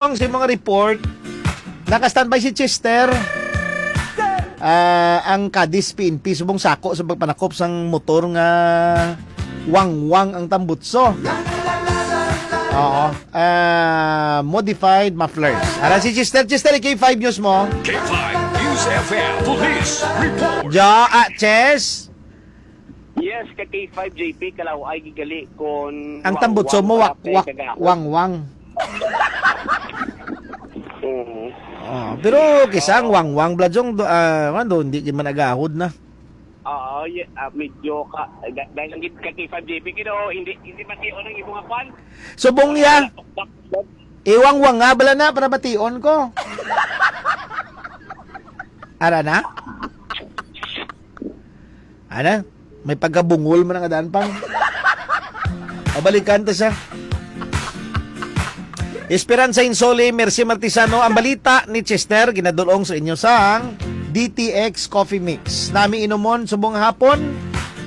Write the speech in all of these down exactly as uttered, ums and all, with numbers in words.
Ang sa mga report, naka-standby si Chester. Ah, ang Cadiz P N P subong sako sa pagpanakop sang motor nga wangwang ang tambutso. Oo. Ah, modified mufflers. Ara si Chester. Chester, K five News mo. K five News F M Police Report. Ja, ah, Chess. Yes, ka K five J P, kalaw ay gigali kon Ang tambutso mo, wak-, wak-, wangwang. Mm. Oh, pero kisa ang wangwang, Bla Jong, do, ah, ano, hindi man agahod na. Oo, ye-, ah, medyo ka, da-, dahil lang gid ka K five J P, kino, hindi, hindi matiyo ng imo nga kwan. Subong ya. Wala, tukbak. Iwangwang nga, bala na, para mation ko. Ara na? Ana? May pagkabungol man ang adaan pang. Pabalikan ta siya. Esperanza Insoli, Mercy Martisano, ang balita ni Chester, ginadulong sa inyo sang D T X Coffee Mix. Nami inumon subong hapon,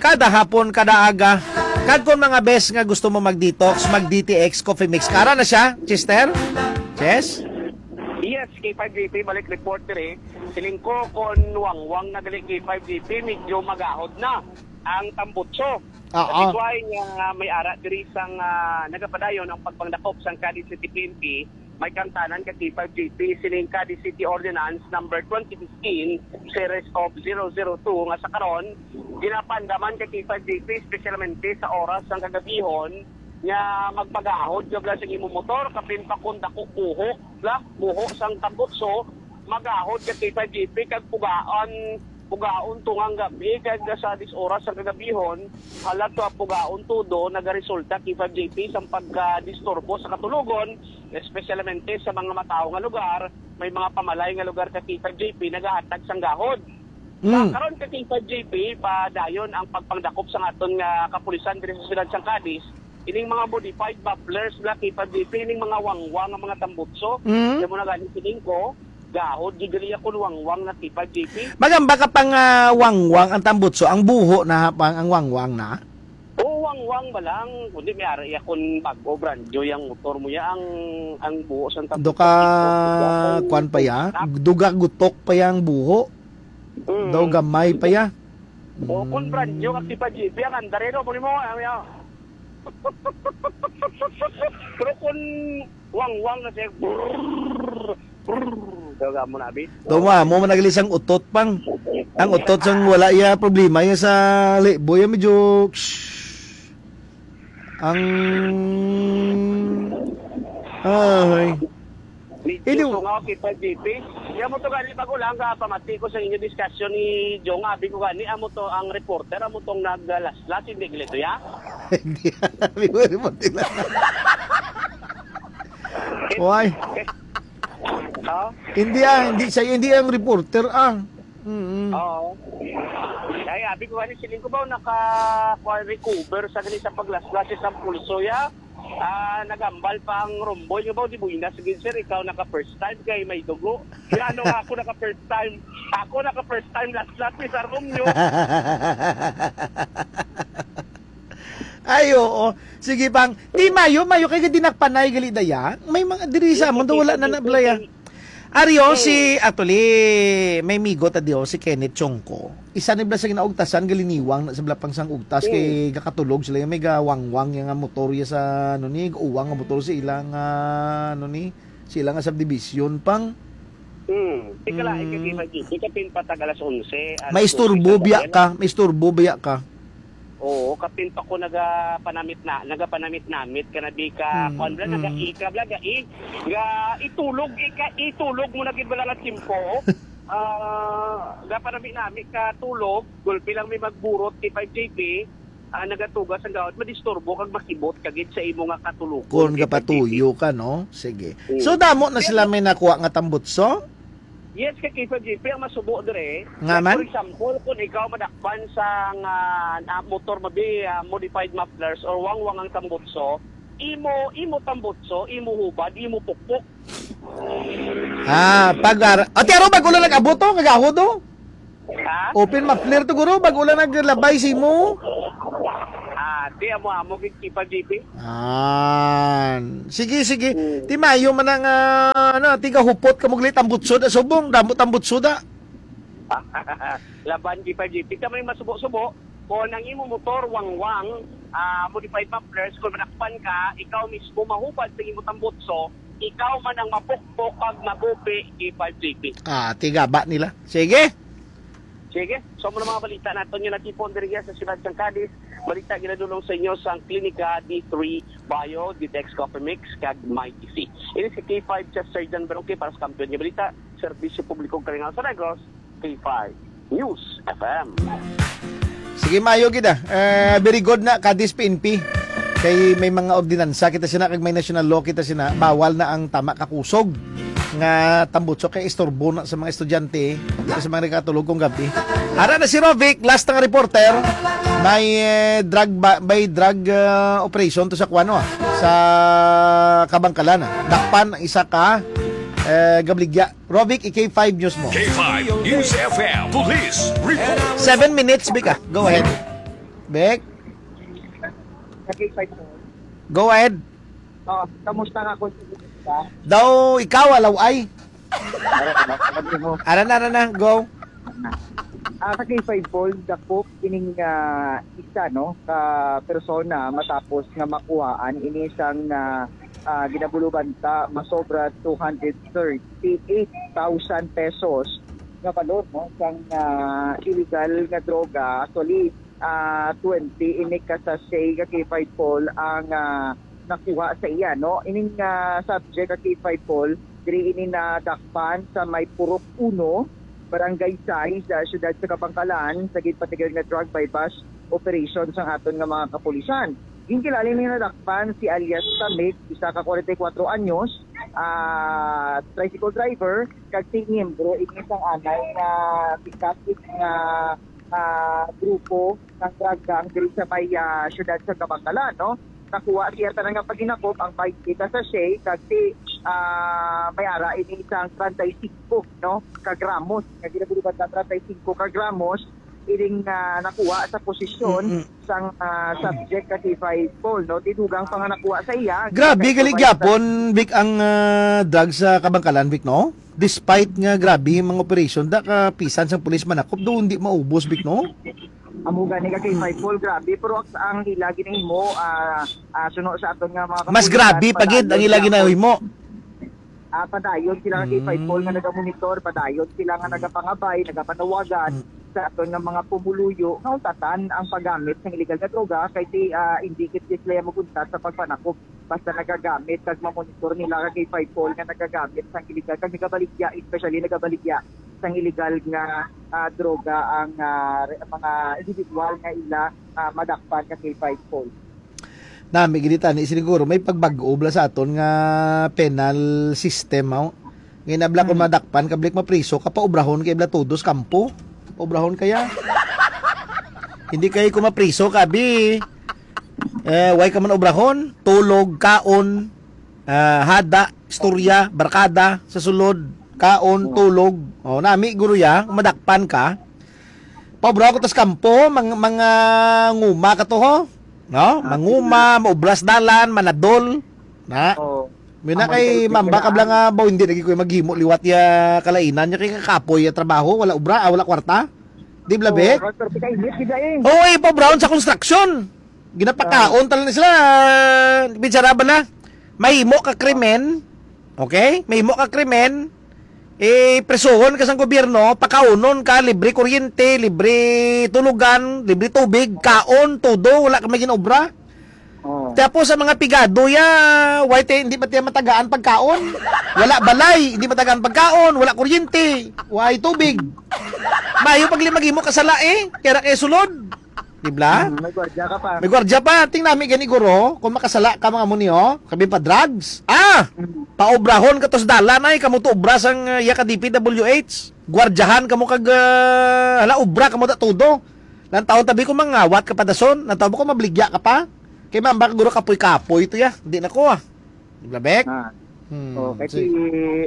kada hapon, kada aga. Kag kung mga bes nga gusto mo mag-detox, mag-D T X Coffee Mix. Kara na siya, Chester? Chess? Yes, K five J P, balik report diri. Siling ko, kon wangwang na gali K five G P, medyo magahod na ang tambutso. Oo. That's why nga may ara diri sang, ah, nagapadayon ang pagpangdakop sang Cadiz City P N P, may kangtanan ka K five G P sining Cadiz City Ordinance number twenty fifteen series of zero zero two nga sa karon ginapandaman ka K five G P, espesyalmente sa oras sang kagabihon nga magpagahod ka bala sa imong motor, kapin pa kung dako buhok, bla, buho sang tambutso, magahod ka K five G P kag pugaan, pugaon tungang gabi kag sa dis oras sa kagabihon, halag to pugaon todo nagaresulta K five G P sang pagkadisturbo sa katulogon, espesyalmente sa mga matawo nga lugar, may mga pamalay nga lugar ka K five G P nagahatag sang gahod. Sa Mm. karon ka K five G P, padayon ang pagpangdakop sa aton nga kapulisan diri sa siyudad sang Cadiz, ining mga modified mufflers na K five G P, ining mga wangwang nga mga tambutso. Mm. Kaya mo na gani sining ko, gahod, gigalia kun wangwang na K five G P. Magamba ka pang, ah, wangwang ang tambutso, ang buho na pang ang wangwang na? Oo, wangwang ba lang? Kundi may ara iya kun bago, brand new yang motor mo ya, ang, ang buho sang tambutso. Do ka, kwan pa ya? Duga gutok pa yang buho? Mm. Daw gamay pa ya? O, kung brand new, Mm. Activa G P, ang andar, eh, no? Muli mo, ano yan? Pero kung wangwang na siya, brrrr, brrrr, daw ka mo na, abi? Daw mo, amo man nagli sang utot pang. Ang utot sang wala iya problema iya sa libo, iya medyo, shh. Ang, ay. Medyo Ini- tungaw kita, G P. Amo to gani, bago lang ka pamati ko sa inyo discussion ni Jong, abi ko gani, amo to ang reporter, amo tong naglaslas, hindi gali to, ya? Hindi, abi ko, reporter lang. Why? Ha? Hindi, ah, hindi siya, hindi ang reporter, ah. Mm. Oo. Ay, abi ko gani, siling ko ba, naka, kuwan, recover sa gani sa paglaslas sa pulso, ya? Ah, nagambal pa ang Romboy nga ba, di buinas gid, sir, ikaw naka first time kay may dugo. Kaya ano nga ako naka first time? Ako naka first time, last, last, ni Sir Romeo. Ay, oo. Sige, pang. Di mayo, mayo kay di nagpanay gali daya. May mga diri sa Yes, amon, okay, wala na okay, nablaya. okay. Ari, oh, si, Mm. actually, may migo ta di, oh, si Kenneth Chongco. Isa ni bala sa ginaugtasan, galiniwang na sa bala pang sang ugtas, kay Mm. gakatulog sila, may gawangwang yang motor ya sa, ano ni, uwang nga motor sa ilang, ah, ano ni, sa ilang nga subdivision pang. Mm. Di ka lain ka, Mm. di ba, di ka pinpatag alas onse, alas May isturbo dose ka biya pa, ka, may isturbo biya ka. Oo, kapin pa ko nagapanamit na, nagapanamit-namit ka na di ka, Mm, kuwan bala, mm. Nagaika bala, gai-, ga, itulog, ika, itulog mo na gid bala nga tiyempo. Ah, gapanamit-namit ka tulog, gulpi lang may magburot kay five J P, ah, nagatugas ang gawad, madisturbo kag makibot ka gid sa imo nga katulog. Kung Kay five J P. gapatuyo ka, no? Sige. Mm. So, damo na Pero sila may nakuha nga tambutso? Yes, kay K five G P ang masubo dire. Nga Like, man? for example, kung ikaw madakpan sa nga, na motor mabi, ah, modified mufflers or wangwang ang tambutso, imo, imo tambutso, imo hubad, imo pukpok. Ah, pag ar-, ate, aro, bago lang nag-abot to, kagahod, oh. Ha? Open muffler to, guro, bago lang naglabay si mo. Ah, Ate, amo-amo gid, K five G P. Ah, sige, sige. Hmm. Ti mayo man ang, ah, ano, tigahupot ka mo gali tambutsod, ah, subong, damo tambutsod, ah. Laban, K five G P. Kami masubo-subo, kung ang imo motor, wangwang, ah, modified mufflers, kung manakpan ka, ikaw mismo mahubad sa imo tambutso, ikaw man ang mapukpok kag mabupi, K five G P. Ah, tigaba nila. Sige. Sige, so, amo na mga balita naton nga natipon diri sa siyudad sang Cadiz. Balita ginadulong sa inyo sang Klinika D three Bio, Ditex Coffee Mix, kag My D C. Ini si K five Chef Sir John Baroque para sa Kampiyon nga Balita, Serbisyo Publiko, Kalingaw sa Negros, K five News F M. Sige, mayo gid, ah. Eh, very good na, Cadiz P N P. Kay may mga ordinansa kita sina, kag may national law kita sina, bawal na ang tama kakusog nga tambutso kay istorbo na sa mga estudyante, sa mga nagkatulog kung gabi. Ara na si Rovic, last nga reporter. May, eh, drug ba, may drug, ah, operation to sa kuwano, ah, sa Kabangkalan, ah. Dakpan ang isa ka, eh, gabaligya. Rovic, i-K five News mo. K five News F M Police Report. Seven minutes, Vic, ah. Go ahead. Vic? Sa K five po. Go ahead. Oh, kamusta nga, Konsehal? Daw ikaw, alaw ay. Ara na, ara na, go. Ah, sa K five Paul, dakop ining, ah, isa, no, ka persona matapos nga makuhaan ini sang, ah, ah, ginabulubanta masobra two hundred thirty-eight thousand pesos nga balor, no, sang, ah, illegal nga droga. Actually, ah, twenty ini ka sachet ka K five Paul ang, ah, nakuha sa iya, no? Ining, ah, subject ka K five Paul, diri ini nadakpan sa may Purok Uno, Barangay Sais, sa siyudad sa Kabangkalan, sa ginpatigayon nga drug buy-bust operation sang aton nga mga kapulisan. Ginkilala ni nadakpan si alias Tamig, isa ka forty-four anyos, ah, tricycle driver, kag si miyembro ini sang anay nga pick-up nga, ah, grupo ng drug gang diri sa may, ah, siyudad sa Kabangkalan, no? Nakuha siya tanan nga paginakop ang twenty ka sachet kag si, ah, may ara ini sang treinta y cinco, no, ka gramos. Nga ginaguluban na treinta y cinco ka gramos ining, ah, nakuha sa posisyon Mm-mm. sang, ah, subject ka K five Paul, no? Ti dugang pa nga nakuha sa iya. Grabe, gali gyapon, Vic, ang, ah, drug sa Kabangkalan, Vic, no? Despite nga grabe yung mga operation, da ka pisan sang pulis manakop, doon di maubos, Vic, no? Amo gani ka K five Paul, grabe. Pero ang, ang ila ginahimo, ah, ah, suno sa aton nga mga Mas kapulisan, grabe pa gid ang padayon ila sila ginahimo. Ah, padayon sila nga K five Paul nga Mm. nagamonitor, padayon sila nga Mm. nagapangabay, nagapanawagan Mm. sa aton nga mga pumuluyo nga untatan ang paggamit sang illegal nga droga kay ti, ah, hindi gid sila maguntat sa pagpanakop basta nagagamit kag mamonitor nila ka K five Paul nga nagagamit sang illegal kag nagabaligya, especially nagabaligya sang illegal nga, ah, droga ang, ah, re-, mga individual nga ila, ah, madakpan ka K five Paul. Nami gid tani siguro may pagbag-o bala sa aton nga penal system, aw. Nga inabla kung Hmm. madakpan ka, balik mapriso ka, paubrahon kay bala todos kampo. Paubrahon kaya. Hindi kay kung mapriso ka, bi. Eh, way ka man ubrahon, tulog, kaon, ah, hada, istorya, barkada, sa sulod, kaon, Oo. tulog. Oh, nami guro ya, madakpan ka. Paubra ko tas kampo, mang-, mga nguma ka to, ho? No? Ah, Manguma, sige. Maubras dalan, manadol. Na? Oo. May na Ang kay mga mamba ka bala nga, baw, hindi lagi ko maghimo liwat ya kalainan niya kay kakapoy ya trabaho, wala ubra, ah, wala kwarta. Di bala, Oo, Bek? Roger, pika init, di ba, eh? Oo, eh, paubra sa construction. Ginapakaon Ah. talaga sila. Bichara ba na? Mahimo ka krimen, okay? Mahimo ka krimen, eh, presohon ka sang gobyerno, pakaunon ka, libre kuryente, libre tulugan, libre tubig, kaon, todo, wala ka may ginobra. Oh. Tapos sa mga pigado ya, why te, hindi ba tiya matagaan pagkaon? Wala balay, hindi matagaan pagkaon, wala kuryente, wala tubig. Mayo pag limagimo kasala eh, kaya na kayo sulod. Di ba? Mm, may gwardiya ka pa. May gwardiya pa. Ting nami gani guro, kung makasala ka mga muni, oh. Kabi pa drugs. Ah! Mm. Paubrahon ka to sa dalan ay, kamo to obra sang, uh, iya ka D P W H. Gwardiyahan kamo kag, uh, hala, obra kamo da todo. Lang taon tabi ko mangawat ka pa dason, lang taon ko mabligya ka pa. Kay mamba ka guro kapoy-kapoy to ya. Di na ko ah. Di ba, Bek? Ah. Hmm, Oh, kay sige. si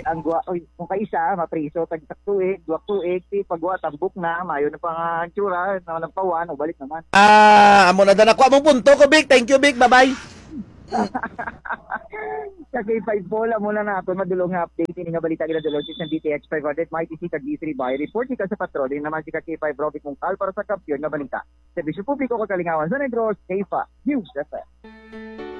ang gwa, oy, kung kaisa mapriso tag sak tuig, duwa tuig, si pagwa tambok na, mayo na pa nga tsura, na nagpawan, o balik naman. Ah, amo na dan ako among punto ko, Vic. Thank you, Vic. Bye-bye. Sa K five Paul, amo na nato madulong nga update ini nga balita ginadulong sa D T X five hundred, Mighty C kag D three by report ika sa patrol. Ini naman si ka K five Rovic Mungkal para sa Kampiyon nga Balita. Serbisyo publiko kag kalingawan sa Negros, K five News F M.